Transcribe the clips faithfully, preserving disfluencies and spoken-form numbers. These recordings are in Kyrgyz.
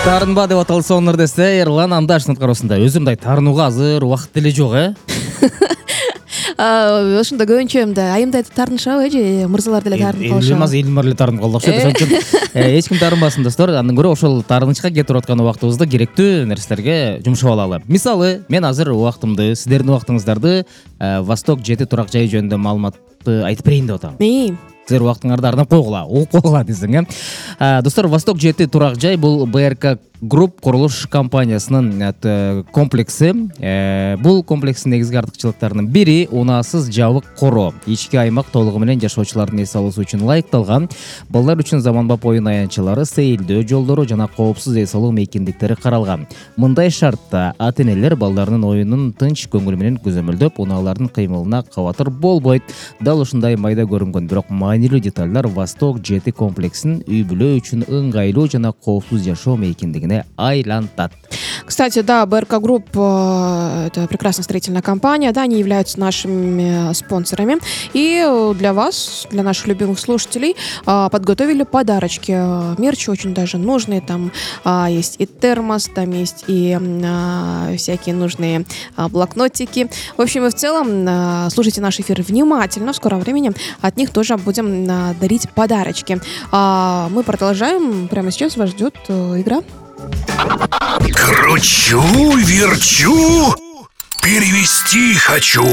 Тарынба деп аталса онор десе Эрлан Андашевдин аткаруусунда өзүм мындай тарынууга азыр убакыт деле жок, э? Ошондо көбүнчө мындай айымдай тарынышабы э же мырзалар деле тарынып калышабы? Элмаз элмар эле тарынып калды окшойт. Ошон үчүн эч ким тарынбасын достор. Андан көрө ошол тарынычка кетип аткан убактыбызды керектүү нерселерге жумшап алалы. Мисалы, мен азыр убактымды, сиздердин убактыңыздарды Восток жети турак жай жөнүндө маалыматты айтып берейин деп атам. Силер убактыңарды арнап койгула, угуп койгула десең, э. Достор, Восток жети турак жай бул БРК Групп курулуш компаниясынын комплекси. Бул комплекстин негизги артыкчылыктарынын бири унаасыз жабык короо. Ички аймак толугу менен жашоочулардын эс алуусу үчүн ылайыкталган. Балдар үчүн заманбап оюн аянтчалары, сейилдөө жолдору жана коопсуз эс алуу мейкиндиктери каралган. Мындай шартта ата-энелер балдарынын оюнун тынч көңүл менен көзөмөлдөп, унаалардын кыймылына кабатыр болбойт. Дал ушундай майда көрүнгөн, бирок маанилүү детальдар Восток жети комплексин үй-бүлө үчүн ыңгайлуу жана коопсуз жашоо мейкиндигине айлантат. Кстати, да, БРК Групп — это прекрасная строительная компания, да, они являются нашими спонсорами. И для вас, для наших любимых слушателей, подготовили подарочки. Мерч очень даже нужный. Там есть и термос, там есть и всякие нужные блокнотики. В общем и в целом, слушайте наш эфир внимательно. В скором времени от них тоже будем дарить подарочки. Мы продолжаем. Прямо сейчас вас ждет игра. Кручу, верчу, перевести хочу.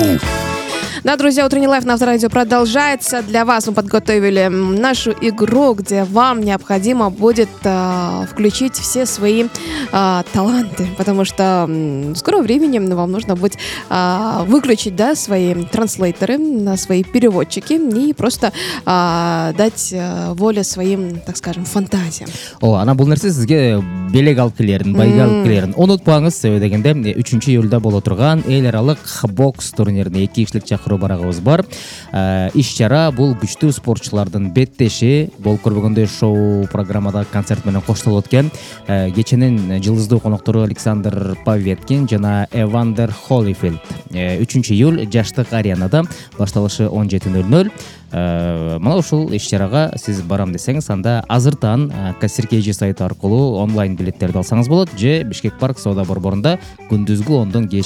Да, друзья, утренний лайф на Авторадио продолжается. Для вас мы подготовили нашу игру, где вам необходимо будет э, включить все свои э, таланты, потому что э, в скором времени вам нужно будет э, выключить, да, свои транслейтеры, свои переводчики и просто э, дать э, волю своим, так скажем, фантазиям. О, ана бул нерсе сизге белек алып келерин, байга алып келерин унутпаңыз. Себеби дегенде үчүнчү июлда боло турган эл аралык бокс турнирине эки кишилик чакыруу барагыбыз бар. Иш-чара бул күчтүү спортчулардын беттеши. Болуп көрбөгөндөй шоу программада концерт менен коштолот экен. Кеченин жылдыздуу коноктору Александр Поветкин жана Эвандер Холлифилд. үчүнчү июль жаштык аренада, башталышы он жети ноль ноль. Мына ушул иш-чарага сиз барам десеңиз, анда азыртан Кассир Кей Жи сайты аркылуу онлайн билеттерди алсаңыз болот, же Бишкек парк соода борборунда күндүзгү ондон кечки